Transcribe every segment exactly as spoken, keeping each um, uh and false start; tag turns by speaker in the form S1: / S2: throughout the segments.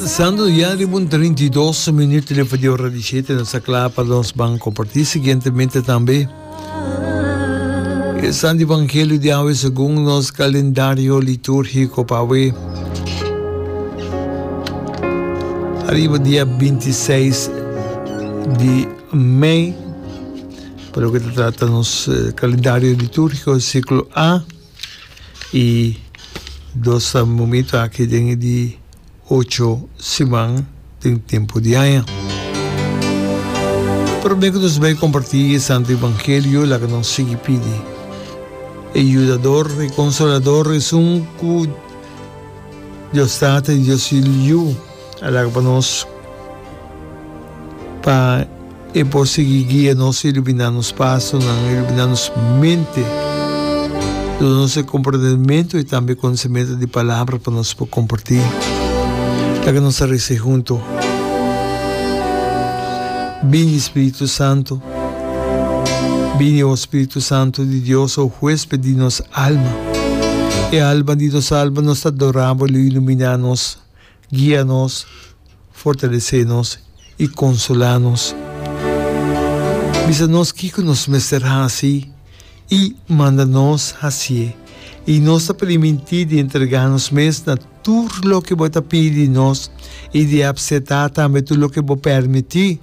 S1: Sando ya riba un trinta i dos minuut riba di ora di shete, nos ta kla pa nos ban kompartí siguientemente tambe e Santo Evangelio di awe segun nos kalendario litúrgiko pa awe. Ariba dia binti seis di mei, pa loke ta trata nos kalendario litúrgiko siklo A. I dos ta momento aki den e di ocho siman den tempu di aña. Promé ku nos bai kompartí e Santu Evangelio, laga nos sigui pidi e Yudador, e Konsolador, esun ku Dios Tata i Dios Yu a laga pa nos, pa E por sigui guia nos, iluminá nos pasonan, iluminá nos mente, duna nos e komprendementu i tambe konosementu di palabra pa nos por kompartí. Laga nos a resa huntu. Bini, Spiritu Santu. Bini, o Spiritu Santu di Dios, o huésped di nos alma. E alma di nos alma nos ta adorá bo, lo iluminá nos, guia nos, Fortalesé nos i konsolá nos. Bisa nos kiko nos mester hasi i manda nos hasié, i nos ta primintí di entregá nos mes na tur loke bo ta pidi di nos i di apseptá tambe tur loke bo permití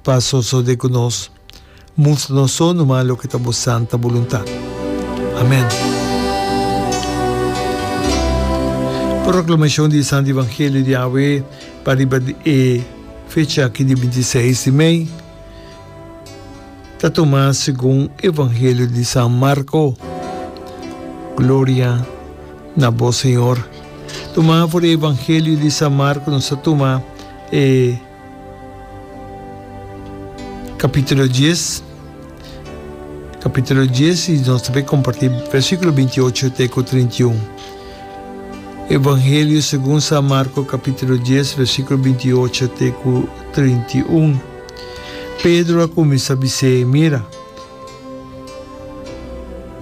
S1: pa sosodé ku nos. Mustra nos so numa loke ta bo santa boluntat. Amen. Proclamacion di e Santo Evangelio di awe pa riba e fecha aki di binti seis di mei ta tuma segun Evangelio di San Marco. Gloria na bo, Señor. Tuma for di Evangelio di San Marco nos ta tuma e Capítulo dies, capítulo dies y nos ta bay comparti versículo binti ocho te cu trinta i un. Evangelio segun San Marco capítulo dies versículo binti ocho te cu trinta i un. Pedro a cuminsa bis'é, Mira,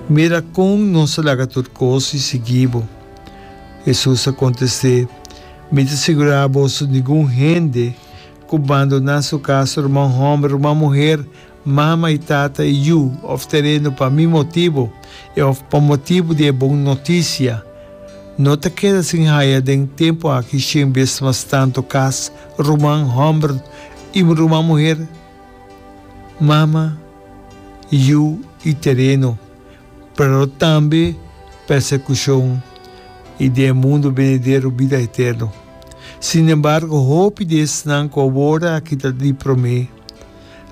S1: mira con nos a laga tur cos y sigui bo. Jesús a contest'é, Mi ta sigurá boso, ningun hende ku bandoná su kas, ruman hòmber, ruman muher, mama i tata i yu òf tereno pa mi motibu i òf pa motibu di e bon notisia, no ta keda sin haya den tempu aki shen bes mas tantu kas, ruman hòmber i ruman muher, mama, yu i tereno. Pero tambe persekushon i den e mundu benidero bida eterno. Sin embargo, hopi di esnan ku awor aki ta di promé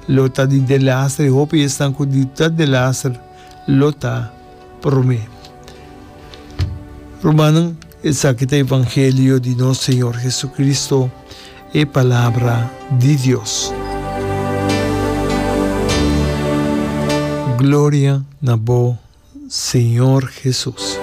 S1: lo ta di delaster i hopi di esnan ku di ta delaster lo ta promé. Rumannan, esaki ta evangelio di nos Señor Jesucristo, e Palabra di Dios. Gloria na bo, Señor Jesus.